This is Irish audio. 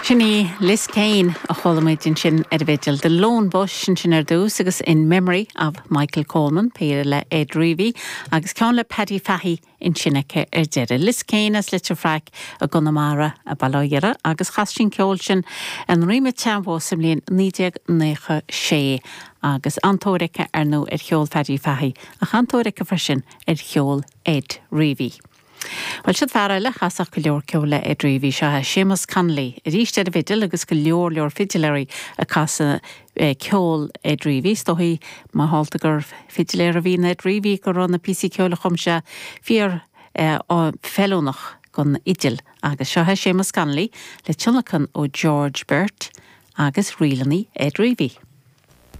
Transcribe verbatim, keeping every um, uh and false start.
Sin í Liz Kane a chuala muid ansin ar an bhfidil The Lone Bush ansin ar dtús agus in memory of Michael Coleman péire le Ed Reavy agus ceann le Paddy Fahey ansin aici ar deireadh. Liz Kane as Leitir Fraic i gConamara a bailire agus chas sí an ceol sin an Rima Teamhó sa mbliain naoi déag nócha sé agus an-tóir aici ar ndóigh ar cheol Paddy Fahey ach an-tóir aici freisin ar cheol Ed Reavy. Well siod fear eile a chasfadh go leor ceoil le Ed Reavy seo Séamus Connolly, arís ar an bhfidil agus go leor leor fidiléirí ag casadh ceol Ed Reavy, is dóigh mar shampla gur fidiléir a bhí in Ed Reavy go raibh na píosaí ceoil a chum sé fíor feiliúnach don fhidil agus seo Séamus Connolly le tionlacan ó George Burt agus ríleanna Ed Reavy.